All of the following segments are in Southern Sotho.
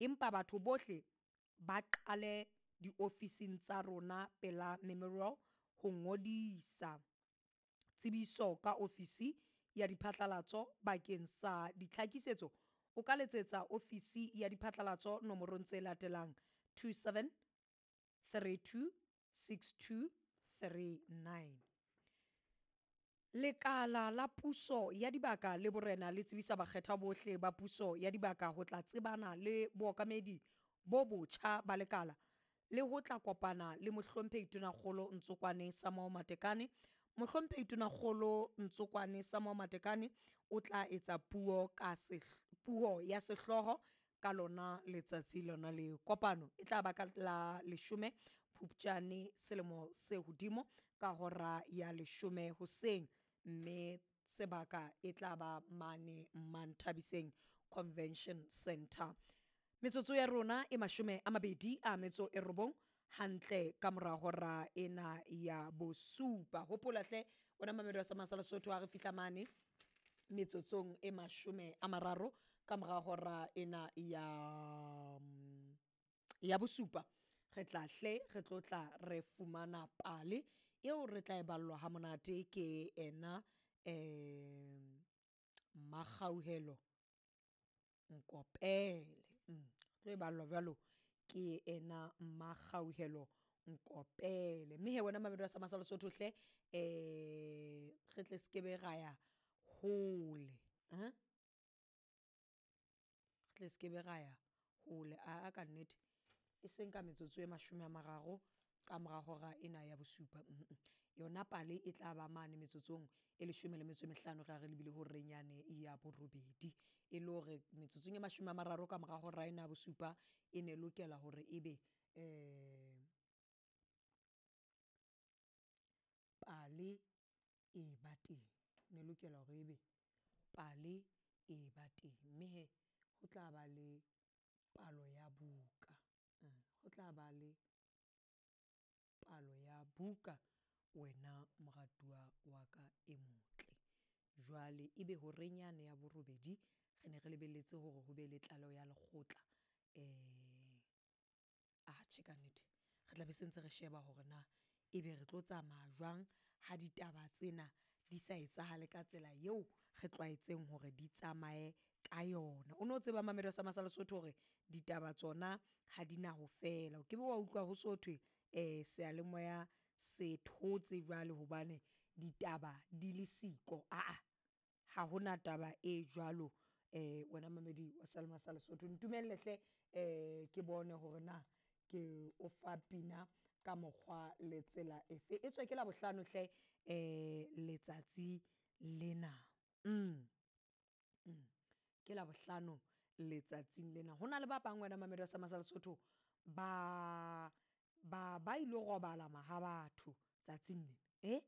Empa batho bohle ba qale diofising tsa rona pela Memorial ho ngodisa. Tsebiso ka ofisi ya diphatlalatso bakeng sa ditlhakisetso o ka letsetsa ofisi ya diphatlalatso nomorong tse latelang 27 32 62 39. Lekala la puso ya dibaka le borena le tsebisa bakgethwa bohle ba puso ya dibaka ho tla tsebana le bookamedi bo botjha ba lekala le ho tla kopana le Mohlomphehi Tonakgolo Ntsokoane Samuel Matekane. Mohlomphehi Tonakgolo Ntsokoane Samuel Matekane o tla etsa puo ka puo ya sehlooho ka lona letsatsi lona leo. Kopano e tla ba ka la 10 Phupjane selemo se hodimo ka hora ya 10 hoseng, mme sebaka e tla ba mane Manthabiseng Convention Centre. Metsotso ya rona e 29 hantle ka mora hora ena ya bosupa. Hopola hle wena mamedi wa Sa Lesotho, ha re fihla mane metsotsong e 30 ka mora hora ena ya bosupa, re tla hle re tlo tla re fumana pale eo re tla e ballwa ha monate ke ena Mmakgauhelo Nkopele. Tlo e ballwa jwalo ke ena Mmakgauhelo Nkopele. Mme he wena mamedi wa Sa Lesotho hle, re tle skebe ra ya hole, re tle skebe ra ya hole aa ka nnete, e seng ka metsotso e 30 ka mora hora ena ya bosupa. Yona pale e tla ba mane metsotsong e 15 re ya re lebile horeng yane ya borobedi, e le hore metsotsong e 30 ka mora hora ena ya bosupa e ne lokela hore ebe pale e ba teng, ne lokela hore ebe pale e ba teng. Mme he ho tla ba le palo ya buka, ho tla ba le palo ya buka wena moratuwa wa ka e motle. Jwale ebe horeng yane ya borobedi re ne re lebelletse hore ho be le tlaleho ya lekgotla, atjhe ka nnete re tla be se ntse re sheba hore na ebe re tlo tsamaya jwang ha ditaba tsena di sa etsahale ka tsela eo re tlwaetseng hore di tsamaye ka yona. O no tseba mamedi wa Sa Lesotho hore ditaba tsona ha di na ho fela, o ke be wa utlwa ho so thwe seyalemoya se thotse jwale hobane ditaba di le siko, aa ha hona taba e jwalo. Wena mamedi wa sa Lesotho, ntumelle hle ke bone hore na ke o fa pina ka mokgwa le tsela efe. E tswe ke Labohlano hle letsatsi lena. Ke Labohlano letsatsing lena. Ho na le ba bang wena mamedi wa sa Lesotho ba ba ilo robala maha batho tsatsing lena,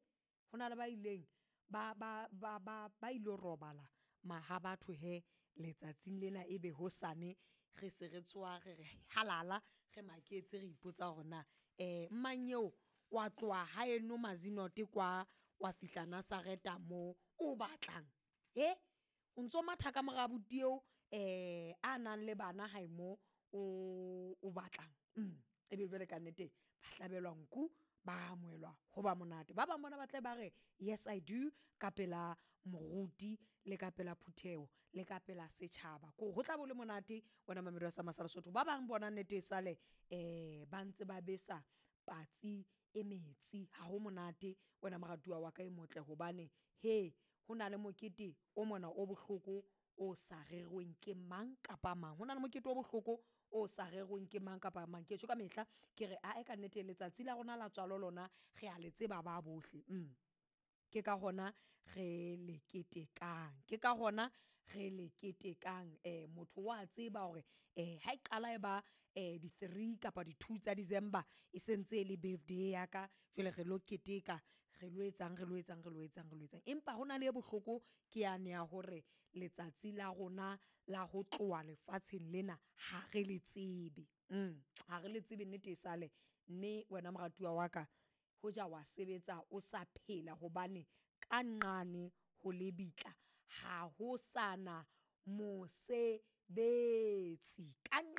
ho na le ba ileng ba ilo robala maha batho he letsatsing lena, ebe hosane re se re tsoha re re halala, re maketse, re ipotsa hore na mmanyeo wa tloha haeno Mazenod kwa wa fihla Nasareta mo o batlang, o ntso matha ka mora abuti eo a nang le bana hae mo o batlang. Ebe jwale ka nnete ba hlabelwa nku, ba amohelwa ho ba monate. Ba bang bona ba tle ba re yes I do ka pela moruti le ka pela phutheho le ka pela setjhaba, kore ho tla bo le monate wena mamedi wa sa Lesotho. Ba bang bona nnete e sale ba ntse ba besa patsi e metsi, ha ho monate wena moratuwa wa ka e motle, hobane he ho na le mokete o mona o bohloko o sa rerweng ke mang kapa mang. Ho na le mokete o bohloko o sa rerweng ke mang kapa mang. Ke tjho ka mehla ke re ae ka nnete letsatsi la rona la tswalo lona re a le tseba ba bohle. Ke ka hona re le ketekang, ke ka hona re le ketekang. Motho wa tseba hore ha e qala e ba di-3 kapa di-2 tsa December e sentse e le birthday ya ka, jwale re lo keteka, re lo etsang, re lo etsang, re lo etsang, re lo etsang. Empa hona le e bohloko ke yane ya hore letsatsi la rona la ho tloha lefatsheng lena ha re le tsebe, ha re le tsebe nnete e sale. Mme wena moratuwa wa ka, hoja wa sebetsa o sa phela hobane ka nqane ho lebitla ha ho sana mosebetsi ka.